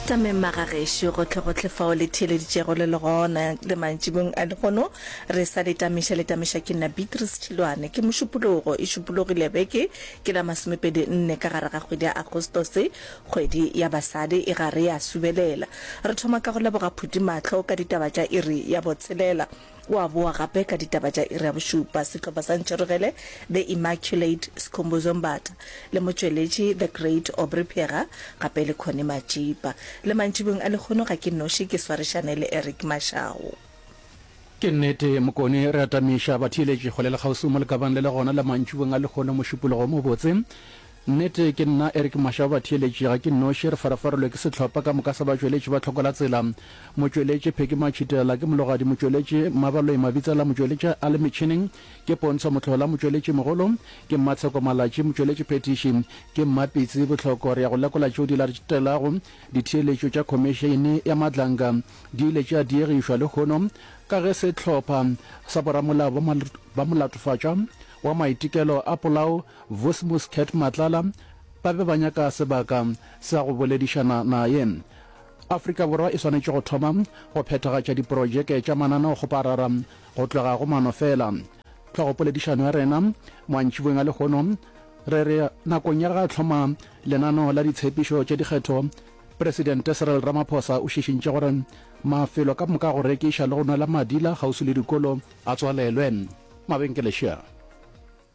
Tameng magagešo gohlegohle fao le theeleditšego le le gona le mantšibong a lehono re sa le tamiša le tamiša ke nna Beatrice Tšhilwane ke mošupologo e šupologile beke ke la masomepedi nne ka gare ga kgwedi ya Agostose kgwedi ya basadi e gare ya subelela re thoma ka go leboga Phuti Mahlo ka ditaba tša iri ya botshelela O a boa gape ka ditaba tša iri ya bošupa. Sehlopha sa Ntšherogele, The Immaculate, Skhumbuzo Mbatha le motšweletši The Great Aubrey Phega gape le Connie Matšipa. Le mantšibong a lekgono ga ke noši ke swarišane le Eric Mashau. Ke nnete Mokone, re atamiša batheeletši kgole le kgauswi mo lekabang le le gona la mantšibong a lekgono Mošupologo o mobotse. Nnete ke nna Eric Mashau batheeletši ga ke noši, re farafarelwe ke sehlopha ka moka sa batšweletši ba Tlhoko la Tsela. Motšweletši Pheki Matšhitela ke mologadi motšweletši Mmabaloi Mabitsela motšweletši a le metšhineng ke Pontsho Mohlola motšweletši mogolo ke Mmatsheko Malatši motšweletši phethiši ke Mmapitsi Bohloko Re ya go lekola tšeo di latelago Ditheeletšo tša Khomišene ya Madlanga di ile tša diegišwa lehono ka ge sehlopha sa boramolao ba molatofatšwa wa maitekelo a polao Vusimusi Cat Matlala ba be ba nyaka sebaka sa go boledišana naye. Afrika Borwa e swanetše go thoma go phethagatša diprojeke tša mananeokgoparara go tloga go mano fela. Hlogopoledišano ya rena mantšiboeng a lehono re re nakong ya ge a hloma lenaneo la ditshepišo tša dikgetho, Presidente Cyril Ramaphosa o šišintše gore mafelo ka moka a go rekiša le go nwela madila kgauswi le dikolo a tswalelwe. Mabenkele šea.